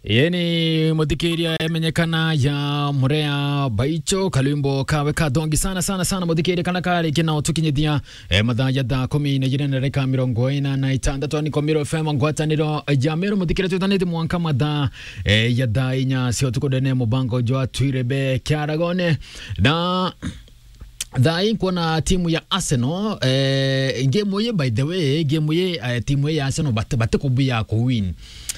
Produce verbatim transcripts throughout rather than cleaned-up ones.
Yeni muthikiria emenyekana ya Murea Baicho, kalwimbo kawe kathongi sana, sana, sana, muthikiria kana kari kina utukinyithia, eh, mathaa ya thaa kumi na ijiri na ndagika mirongo ina na itandatu, ni Komiro F M, ngwataniro ya Meru, muthikiria twithanite mwanka mathaa, eh, ya thaa inya cia utuku ndene mubango jwa Twirebe Kiaragone. Na Thaa ii nkwona timu ya Arsenal, eh, game ii, by the way, game ii, eh, timu ii ya Arsenal bati-, batikubia kuwin.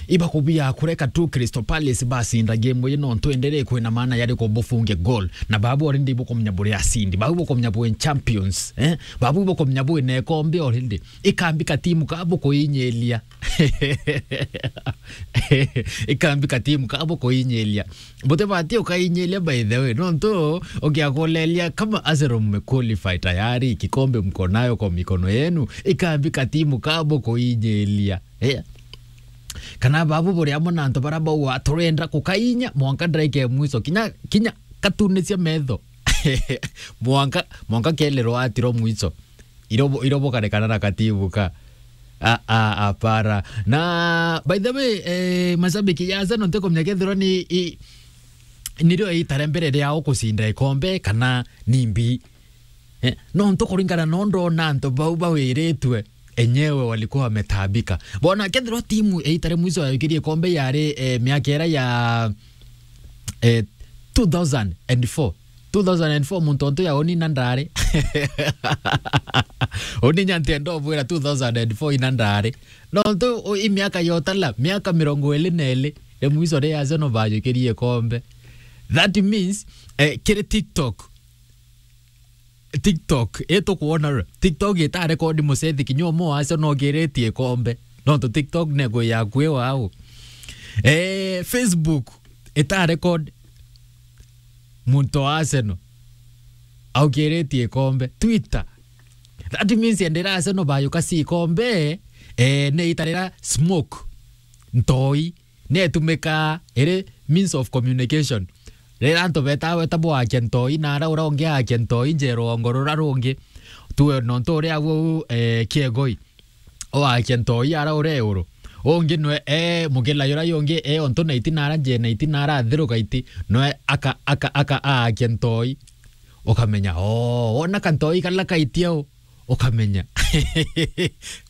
Ibakubia kureka tu Crystal Palace bacinda game ii, nontu enderee kwina maana yari kubufunge goal. Na babu already bukumenya buri acindi. Babu bukumenya bwi champions, eh? Babu bukumenya bwi na ikombe already. Ikambi katimu ka bukuinyiria. Ikambi katimu ka bukuinyiria. Butibati ukainyiria, by the way. Nontu ukiakulelia kama Arsenal mmequalify tayari, kikombe mko nayo kwa mikono yenu, ikambi katimu ka bukuinyiria. Eh. Kana babu buri amwe na antu bara bauga, "Turenda kukainya mwanka ndagika ya mwiso." Kinya, kinya katunisia metho. Mwanka, mwanka kelirwa atiro mwiso. Irobo, irobo karekana na katibu ka. A, a, apara. Na, by the way, eh, mashabiki ya Arsenal ntikumenya kethirwa ni, i, nirio itare mbere riao kucinda ikombe kana ni mbi. Eh, nontu kuringana no ndona antu bau bawiritwe, enyewe walikuwa wametaabika. Bona kethirwa timu itare mwiso ya ikirie ikombe yari, eh, miaka ira ya eh, two thousand and four. Two thousand and four, muntu ontu ya uni na ndari. Uni nya ntienda ubwira two thousand and four ina ndari. Nontu u-, i miaka ya utala, miaka mirongo iri na iri, ri mwiso ri Arsenal bajukirie ikombe. That means, eh, kiri TikTok, TikTok, itukwona ri? TikTok ita record mucethi kinya umwe wa Arsenal ukiritie ikombe. Nontu TikTok nekwi yakui wau. Eh, Facebook ita record muntu wa Arsenal aukiritie ikombe. Twitter. That means endera Arsenal bayuka si ikombe, eh, ne itarira smoke, ntoi. Nietumikaa iri means of communication. Riria antu betaa weta bwakia ntoi, na ara uria ungi akia ntoi nje ruongo rura rungi. Tuwe nontu uria au, eh, kiegoi. Uakia ntoi ara uria euru. Ungi nwe, eh, mugila yura yungi, eh, ontu na iti na ara nje na iti na ara athiruka iti. Nwe aka, aka, aka aakia ntoi. Ukamenya, oo, wona kantoi kala kaitia u. Ukamenya.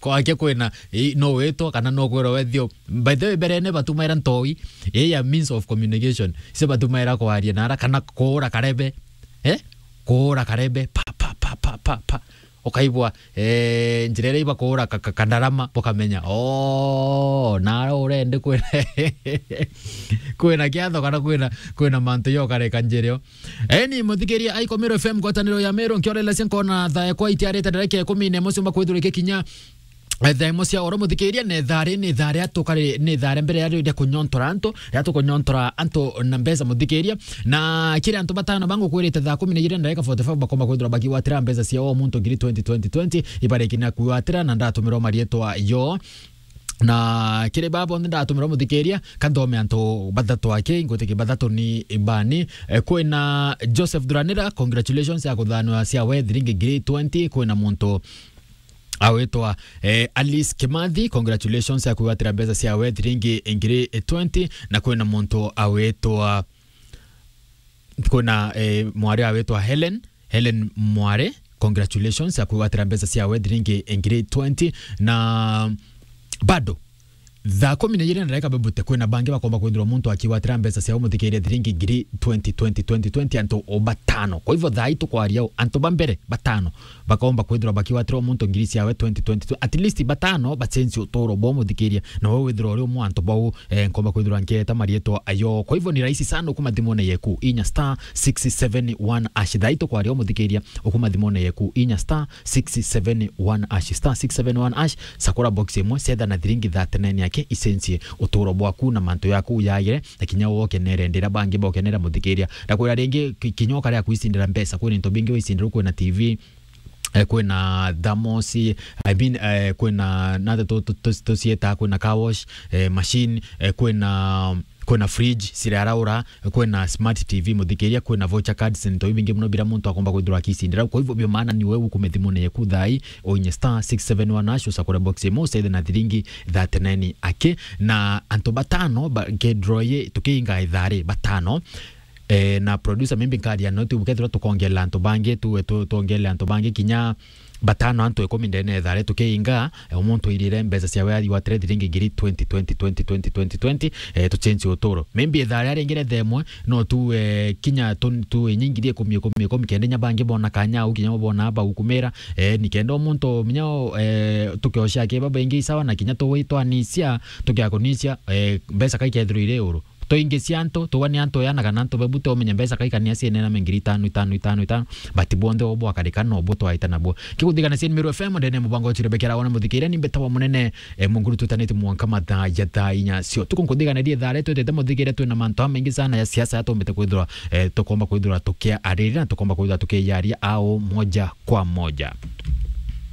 Kwake kwina, i, no witwa kana no kwirwa wethio. By the way, mberene batumaira ntoi, i ya means of communication. Ise batumaira kwaria na ara kana kuura karebe. Eh? Kuura karebe. Pa, pa, pa. Ukaigua, eh, njira iria ibakuura ka, ka, kandarama, bukamenya. Oh, nara urendi kwina, kwina kiatho kana kwina, kwina mantu yokareka njirio. Eni, muthikiria aikomero F M, ngwataniro ya Meru, nkiorelesia nkona thaa ekwa itiarite ndareke ikumi na imwe ciumba kwithirwa ikikinya, eh, thaa imwe cia oro, muthikiria, ni thaa ri, ni thaa ria tukari, ni thaa ria mbere ya ria kunyontora antu, ria tukunyontora antu na mbeca, muthikiria. Na kiri antu batano bangukwirite thaa kumi na ijiri ndareka forty-five bakomba kwithirwa bakigwatira mbeca ciao o muntu ngiri twenty, twenty, twenty, ibariki na kwigwatira na ndatumirwa marietwa yo. Na kiri baa bonthe ndatumirwa muthikiria, kanthome antu bathatu aki, ngwitikia bathatu ni bani. Eh, kwina Joseph Thuranira, congratulations ya kuthanwa ciawe thiringi ngiri twenty. Kwina muntu awitwa, eh, Alice Kimathi, congratulations ya kwigwatira mbeca ciawe thiringi ngiri twenty. Na kwina muntu awitwa Kwina, eh, mwari awitwa Helen, Helen Mware, congratulations ya kwigwatira mbeca ciawe thiringi ngiri twenty. Na bado, thaa kumi na ijiri na ndagika bebute, kwina bangi bakomba kwithirwa muntu akigwatira mbeca ciao muthikiria thiringi ngiri twenty, twenty, twenty, twenty, antu o batano. Kwa hivyo, thaa ii tukwaria u, antu ba mbere batano bakomba kwithirwa bakigwatira o muntu ngiri ciawe twenty twenty-two. At least batano bacenjie uturo bwao muthikiria, na we withirwa uri umwe wa antu bau, eh, nkomba kwithirwa nkieta marietwa ayo. Kwa hivyo ni rahisi sana, ukuma thimone yeku inya star six seven one hash. Thaa ii tukwaria umuthikiria, ukuma thimone yeku inya star six seven one hash, star six seven one hash, sakura box imwe, cetha na thiringi thirty-nine yake, icenjie uturo bwaku na mantu yaku yagire, na kinya wokenere ndira bangi bokenera muthikiria. Ndakwira ringi, ki-, kinya ukaria kwicindira mbeca, kwina into bingi wicindira, kwina T V, eh, kwina thermos, I mean, eh, kwina nate tu- tu- tu- tucieta, kwina car wash, eh, machine, eh, kwina kwina fridge ciraraura, kwina smart T V muthikiria, kwina voucher cards, into ibingi muno bira muntu akomba kwithirwa akicindira. Kwa hivyo bio maana ni wewe ukume thimune yeku thai, oinye star six seven one hash, usakure box imo, usaithe na thiringi thirty-nine aki. Na antu batano ba, ke draw ye tukiinga ithari batano. Eh, na producer, maybe nkaria no tu kethirwa tukongela antu bangi, tu, tu, tuongele antu bangi kinya batano, antu ikumi ndene ethare tukiinga, eh, umuntu irire mbeca cia weathi wa trade ringi ngiri twenty, twenty, twenty, twenty, twenty, twenty, eh, tuchenji uturo. Maybe ethare aringire themwe, no tu, eh, kinya tu, tu inyingiri ikumi, ikumi, ikumi, kenda nya bangi bona kanya au kinya bona aba ukumira, eh, ni kenda umuntu minya, eh, tukiosha ke baba ingi isawa na kinya tuwitwanisia, tukiakunisia, eh, mbeca kaikethirwa iri uru. Tuingi cia antu, tuwa ni antu yana kana antu bebu te umenye mbeca kaikania cienena me ngiri itano, itano, itano, itano, but bonthe obo akarika no bo twaita nabo. Kiguthigana cia Meru F M, ndene mubango wa Chirebekera wona muthikire ni mbetawa munene, eh, munguru tutanite mwanka mathaa ya thaa inya cio. Tuku nkuthigana rie thare twetete muthikire twina mantu amaingi sana ya siasa ya tumbite kwithirwa, eh, tukomba kwithirwa tukia ariri na tukomba kwithirwa tukiyaria au moja kwa moja.